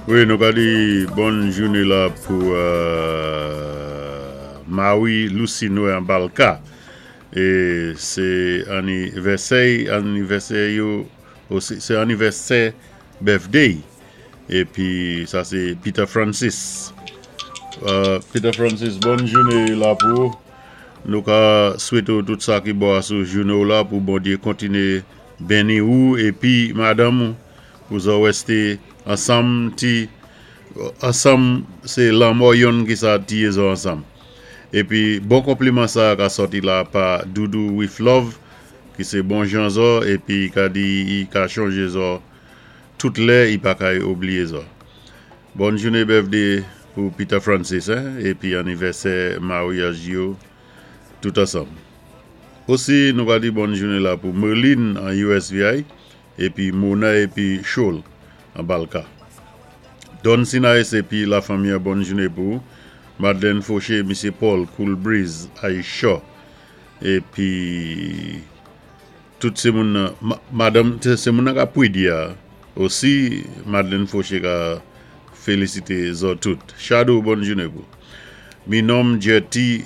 Wi, nou ka di bòn jouné la pou Marie Lucie Noé an Balka. É sé anivèsè anivèsè yo osi sé anivèsè birthday épi sa sé Peter Francis. Peter Francis, bòn jouné la pou ou. Nou ka swété ou tout sa ki bon asou jouné ou la pou Bondyé kontiné benni ou épi madanm ou pou zò wèsté ansanm ti ansanm sé lanmò yonn ki sa tiyé zò ansanm. Épi bon konpliman sa ka sòti la pa Doudou with love ki sé bon jan zò épi ka di i ka chonjé zò tout lè i pa kay oubliyé zò. Bòn jouné birthday pou Peter Francis hein épi anivèsè maryaj yo tout ansanm. Osi nou ka di bòn jouné la pou Merline an USVI épi Mona épi Chol an Balka. Don Sinaïs épi la fanmi an bòn jouné pou ou. Madeleine Fauché, Misye Paul, Cool Breeze, Aisha épi tout sé moun nan madanm sé moun nan ka pwedi a osi Madeleine Fauché ka félisité zò tout. Shadow bòn jouné pou. Minom Jetty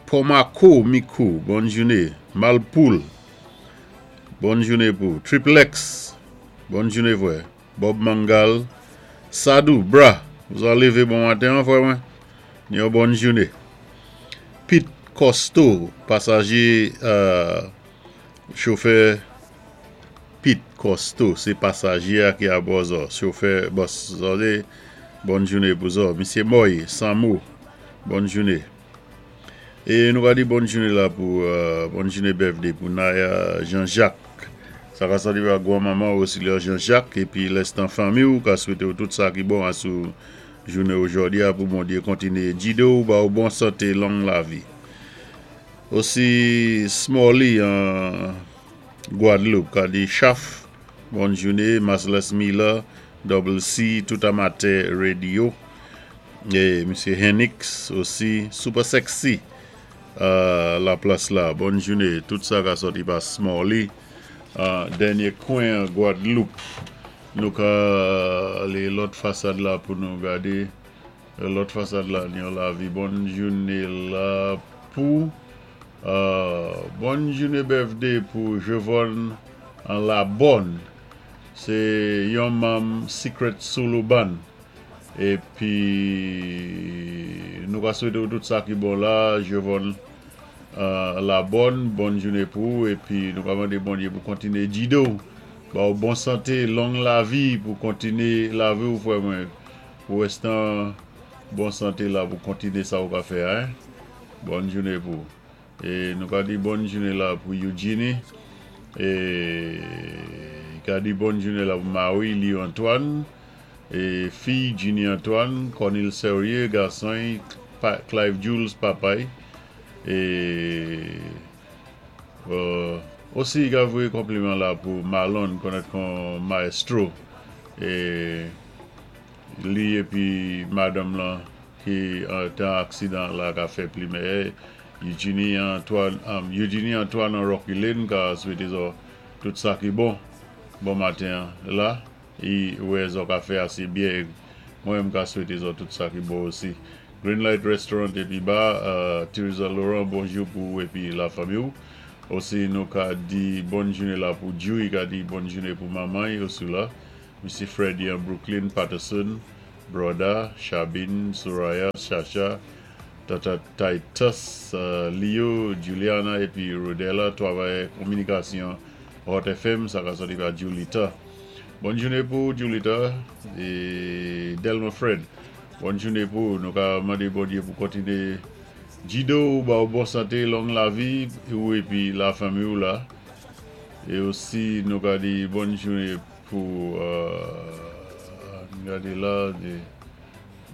Pomako Mikou bòn jouné. Malpoul bòn jouné pou. Triplex bòn jouné frè. Bob Mangal Sadou bra zò lévé bon maten an frè mwen ni yon bòn jouné. Pete Costo pasajé chofè Pete Costo sé pasajé a ki abò zò chofè bòs zò sé bòn jouné pou zò. Misye Moy Samo bòn jouné. É nou ka di bòn jouné la pou bòn jouné birthday pou Naya Jean Jacques sa ka sòti pa gwan manman Auxiliaire Jean Jacques épi lèstan fanmi ou ka swété ou tout sa ki bon asou jouné ojòdi a pou Bondyé kontiné gidé ou ba ou bon santé long lavi. Osi Smally an Guadeloupe ka di Chaf bòn jouné Marcellus Miller Double C tout amatè radio. E misye Henix osi super sexy la plas la bòn joune tout sa ka sòti pa Smally dènye kwen Guadeloupe nou ka ale lòt fasad la pou nou gade lòt fasad la ni yon lavi bòn joune la pou bòn joune birthday pou Jevon an la bòn se yon manm Secret Solo Band. Epi nou ka swete ou tout sa ki bon la Jevon la bòn bòn joune pou ou epi nou ka mande Bondye pou kontinye gide w ba ou bon sante long lavi pou kontinye lavi w frè mwen pou restan bon sante la pou kontinye sa ou ka fè a hein bòn joune pou ou e nou ka di bòn joune la pou Eugenie e ka di bòn joune la pou Marie Lio Antoine. E fiy Jini Antoine, Cornil Serieux, gason Clive Jules papay e osi ka voyé konpliman la pou Marlon konèt kon maestro e li épi madanm lan ki té an aksidan la ka fè plimè Eugenie Antoine Eugenie Antoine an Rocky Lane ka swété zò tout sa ki bon bon maten an la. I wè zò ka fè ase byè e mwen menm ka swete zò tout sa ki bon osi. Green Light Restaurant epi Bar, Tirza Laurent bonjou pou ou epi la fanmi ou. Osi nou ka di bòn joune la pou Djouy ka di bòn joune pou manman y osi la. Misye Freddy an Brooklyn, Patterson, Broda, Chabine, Soraya, Chacha, Tata Titus, Leo, Juliana epi Rodella travayè kominikasyon Hot FM sa ka sòti pa Julita. Bòn joune pou ou Julita e Delma Fred. Bòn joune pou ou. Nou ka mande Bondye pou kontinye gide ou, ba ou bon sante, long lavi ou epi la fanmi ou la. E osi nou ka di bòn joune pou ann gade la de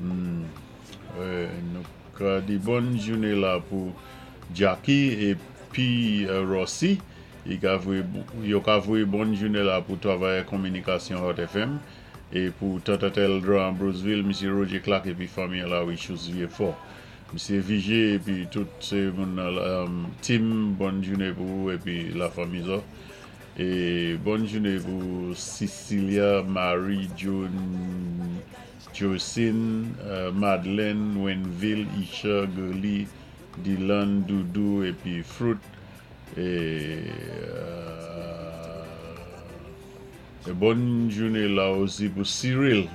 nou ka di bòn joune la pou Jacky epi Rossy. Yo ka voyé bòn jouné la pou travayè kominikasyon Hot FM é pou Tata Eldra an Brosville, Misye Roger Clark épi fanmi an la Richous Vieux Fort. Misye Vigé épi tout sé moun nan Tim bòn jouné pou ou épi la fanmi zò. É bòn jouné pou Cecilia Marie John. Josine, Madeleine, Wenville, Isha, Gurley, Dylan, Doudou épi Fruit. É bòn jouné la osi pou Cyril.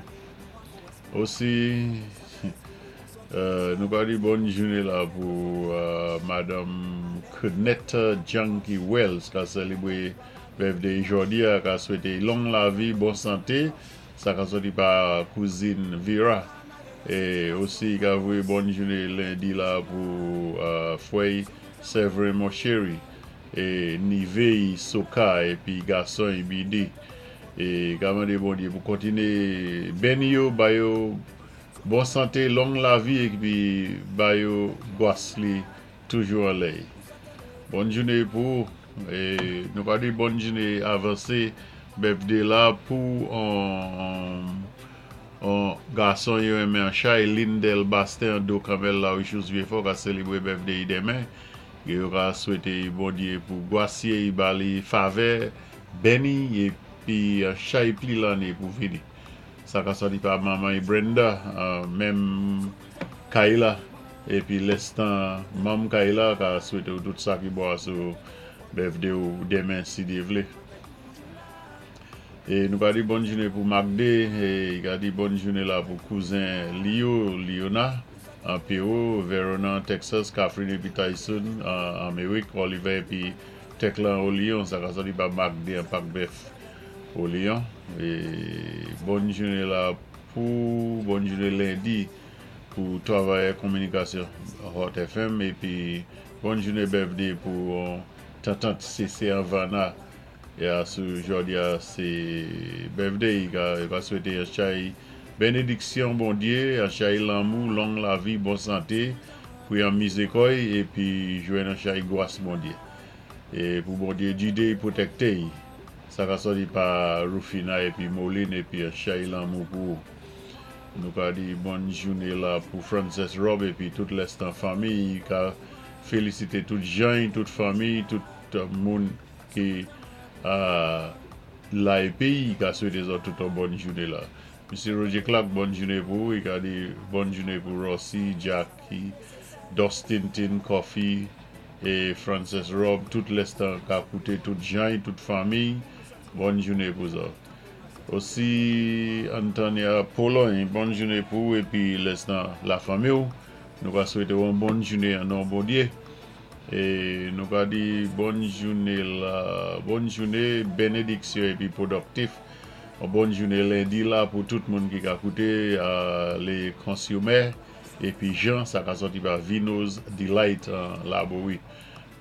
Osi, nou ka di bòn jouné la pou Madanm Kenetta Junkie Wells ka sélébwé birthday jòdi-a, ka swété long lavi, bon santé, sa ka sòti pa kouzin Vera. É osi ka voyé bòn jouné lendi la pou frè Severin Monchery é Nivey Soka épi gason Ibidi. É ka mandé Bondyé pou kontiné béni yo, ba yo bon santé, long lavi épi ba yo gwas li toujou anlè. Bòn jouné pou é nou ka di bòn jouné avansé birthday la pou on gason yo renmen an chay Lindel Bastin Do Kamel la Richous Vieux-Fort ka sélébwé birthday denmen. Yo ka swété Bondyé pou gwasyé ba li favè, béni épi chay pli lanné pou vini. Sa ka sòti pa manman Brenda, menm Kayla épi lèstan manm Kayla ka swété ou tout sa ki bon sou birthday ou denmen si Dye vlé. É nou ka di bòn jouné pou Magde, é ka di bòn jouné la pou kouzen Leo, Leona, an Pewou, Verona, Texas, Catherine épi Tyson, an Amerik, Oliver épi Teklan au Lyon, sa ka sòti pa Magde an Pak Bèf au Lyon. É bòn jouné la pou bòn jouné lendi pou travayè kominikasyon Hot FM épi bòn jouné birthday pou tantant CC Havana. Ya sou jòdi-a sé birthday, yo ka swété an chay bénédiksyon Bondyé, an chay lanmou, long lavi, bon santé, pou yon mizé kò'y épi jwenn an chay gwas Bondyé. É pou Bondyé gidé pwotèkté. Sa ka sòti pa Rufina épi Moline épi an chay lanmou pou ou. Nou ka di bòn jouné la pou Frances Rob épi tout lèstan fanmi, ka félisité tout jan, tout fanmi, tout moun ki la épi ka swété zòt tout an bòn jouné la. Msye Roger Clark, bòn jouné pou ou, i ka di bòn jouné pou Rossi, Jackie, Dustin Tin, Coffee, é Frances Rob, tout lèstan ka kouté tout jan, tout fanmi, bòn jouné pou zòt. Osi Antonia Pologne, bòn jouné pou ou épi lèstan lafanmi ou. Nou ka swété ou an bòn jouné an non Bondyé. É nou ka di bòn jouné la, bòn jouné, bénédiksyon épi pwodiktif. An bòn jouné lendi la pou tout moun ki ka kouté les consommateurs épi Jean, sa ka sòti pa Vino's Delight an Laborie.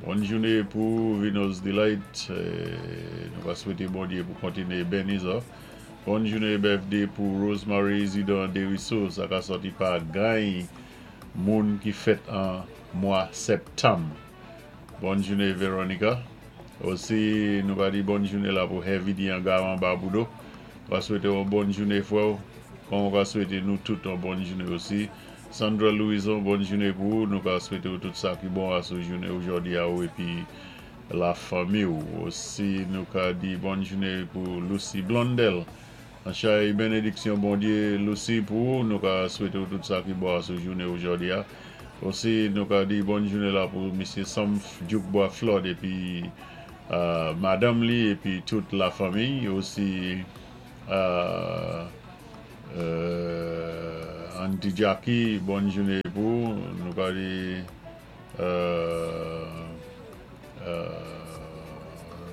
Bòn jouné pou Vino's Delight, nou ka swété Bondyé pou kontiné béni zòt. Bòn jouné birthday pou Rosemary Isidore Deriso, sa ka sòti pa gany moun ki fèt an mwa septanm. Bòn jouné Veronica. Osi nou ka di bòn jouné la pou Heavy D an Garan Baboudo. Ka swété yon bòn jouné frè ou. Kon ka swété nou tout yon bòn jouné osi. Sandra Louison, bòn jouné pou ou. Nou ka swété ou tout sa ki bon a sou jouné jòdi-a ou épi lafanmi ou. Osi nou ka di bòn jouné pou Lucy Blondel. An chay bénédiksyon Bondyé Lucy pou ou, nou ka swété ou tout sa ki bon a sou jouné jòdi-a. Osi nou ka di bòn jouné la pou Msye Sam Djoukbois Flood épi madanm li épi tout lafanmi. Osi Auntie Jackie, bòn jouné pou ou. Nou ka di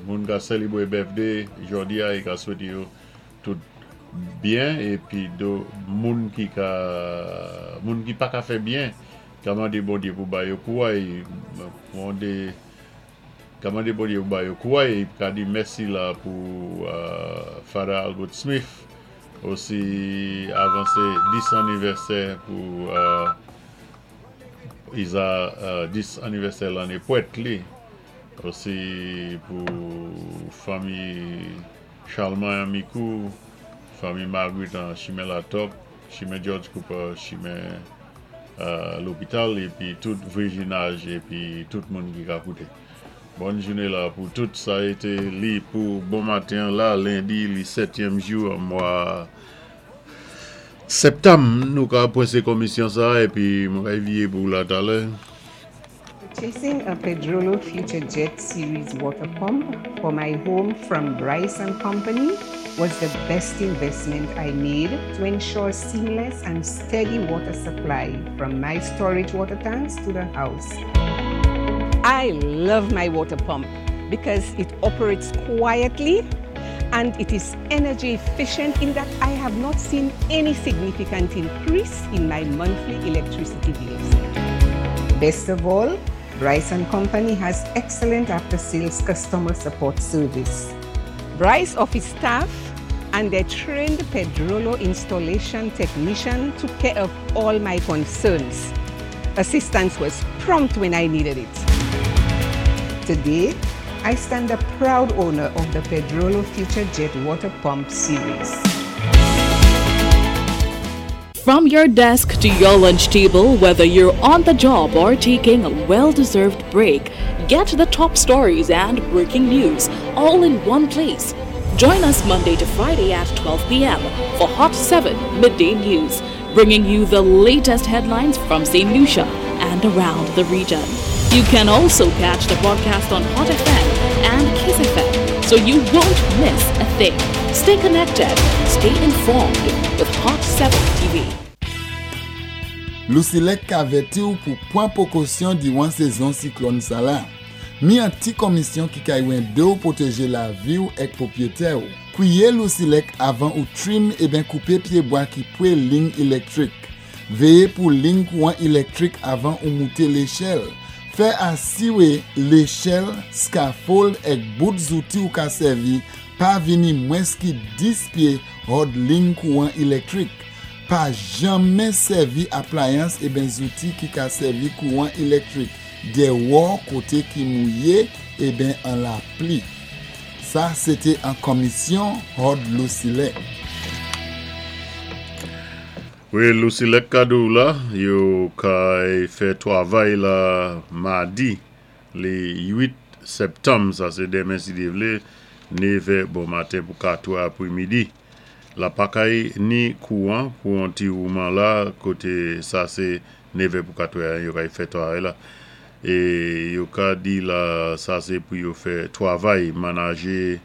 moun ka sélébwé birthday jòdi-a é ka swété yo tout byen épi do moun ki pa ka fè byen ka mandé Bondyé pou ba yo kouway mandé ka mandé Bondyé pou ba yo kouway ka di mèsi la pou Father Albert Smith osi avansé 10 anivèsè pou Iza 10 anivèsè lanné pwèt li osi pou fanmi Charlemagne Amikou, fanmi Marguerite an Chimen Latop, Chimen George Cooper, Chimen Lopital, épi tout vwazinaj, épi tout moun ki ka kouté. Bòn jouné la pou tout. Sa été li pou bon maten la, lendi, li sètyèm jou an mwa. Septanm nou ka pwensé komisyon sa épi mwen kay viyé pou la talè. Purchasing a Pedrollo Future Jet Series water pump for my home from Bryce and Company was the best investment I made to ensure seamless and steady water supply from my storage water tanks to the house. I love my water pump because it operates quietly and it is energy efficient in that I have not seen any significant increase in my monthly electricity bills. Best of all, Bryce and Company has excellent after-sales customer support service. Bryce office staff and their trained Pedrollo installation technician took care of all my concerns. Assistance was prompt when I needed it. Today, I stand a proud owner of the Pedrollo Future Jet Water Pump Series. From your desk to your lunch table, whether you're on the job or taking a well deserved break, get the top stories and breaking news all in one place. Join us Monday to Friday at 12 p.m. for Hot 7 Midday News, bringing you the latest headlines from St. Lucia and around the region. You can also catch the broadcast on Hot FM and Kiss FM, so you won't miss a thing. Stay connected, stay informed with Hot 7 TV. Lusilek ka avèti ou pou pwan pwékosyon diwan sézon siklòn sa la. Mi an ti komisyon ki kay wendé ou pwotégé lavi ou èk pwopwiyétè ou. Kwiyé Lusilek avan ou trim eben koupé pyébwa ki pwé ling ilektwik. Véyé pou ling kouwan ilektwik avan ou mouté léchèl. Fè asiwé léchèl, scaffold èk bout zouti ou ka sèvi pa vini mwens ki 10 pyé hòd ling kouwan ilektwik. Pa janmen sèvi aplayans eben zouti ki ka sèvi kouwan ilektwik dèwò koté ki mouyé eben an lapli. Sa sété an komisyon hòd Lusilek. Wi, Lusilek ka di la, yo kay fè twavay la madi lé 8 septanm, sa sé denmen si Dye vlé, 9 bon maten pou 4 apwémidi. La pa kay ni kouwan pou an ti wouman la, koté sa sé 9 pou 4 yo kay fè twavay la. É yo ka di la sa sé pou yo fè twavay, manajé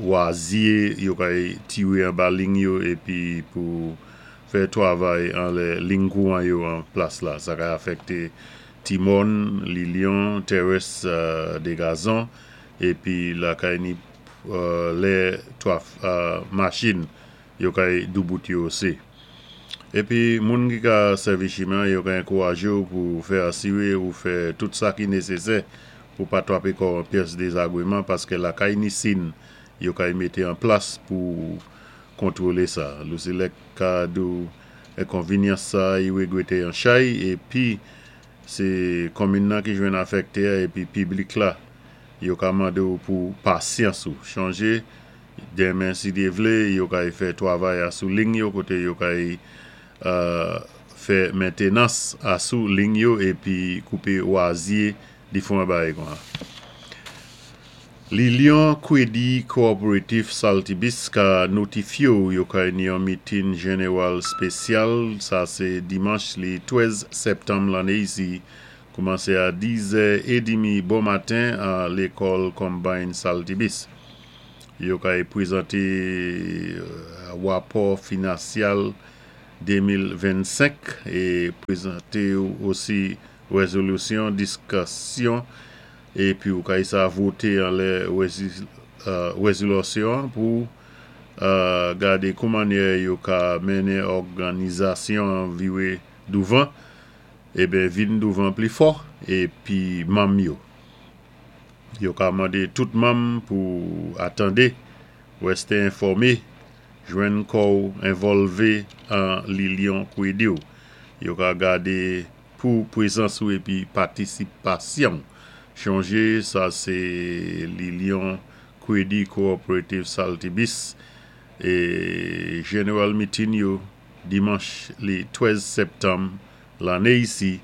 wazye yo kay tiwé anba ling yo épi pou fè twavay anlè ling kouwan yo an plas la. Sa kay afèkté Timon, Lilion, Terrace de Gazon épi la kay ni lè machin yo kay doubout yo osi. Épi moun ki ka sèvi chimen yo ka ankourajé ou pou fè asiwé ou fè tout sa ki nésésè pou pa twapé kò an pyès dézagwéman paské lakay ni sin yo kay mété an plas pou kontwolé sa. Lusilek ka di ou enkonvinyans sa yi wégwété an chay épi sé konmin nan ki jwenn afèkté épi piblik la yo ka mandé ou pou pasyans ou chanjé denmen si Dye vlé yo kay fè twavay asou ling yo koté yo kay fè mentenans asou ling yo épi koupé wazye difwan bagay kon Lilion Kwédi Cooperative Saltibus ka notifyé ou yo kay ni yon meeting jenewan spésyal sa sé dimanch lé 13 septanm lanné isi koumansé a 10h30 bon maten a lékòl Combine Saltibus. Yo kay pwézanté wapò finansyal 2025 é pwézanté osi wézolisyon diskisyon épi ou kay sa voté anlè wézolisyon pou gadé koumannyè yo ka mennen òganizasyon viwé douvan eben vin douvan pli fò épi manm yo. Yo ka mandé tout manm pou atandé, wèsté enfòmé, jwenn kò ou envòlvé an Lilion Kwédi ou. Yo ka gadé pou pwézans ou épi patisipasyon. Chonjé, sa sé Lilion Kwédi Cooperative Saltibus é General Meeting yo dimanch lé 13 septanm lanné isi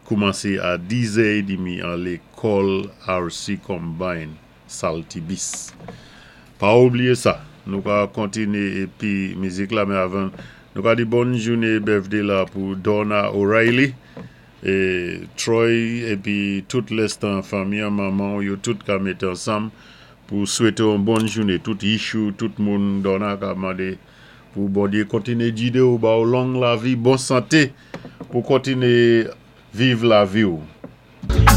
koumansé a 10h30 an lékòl RC Combine Saltibus. Pa oubliyé sa. Nou ka kontiné épi mizik la, men avan nou ka di bòn jouné birthday la pou Donna O'Reilly é Troy épi tout lèstan fanmi, manman yo tout ka mété ansanm pou swété yon bòn jouné tout issue, tout moun. Donna ka mandé pou Bondyé kontiné gidé ou, ba ou long lavi, bon santé pou kontiné viv lavi ou.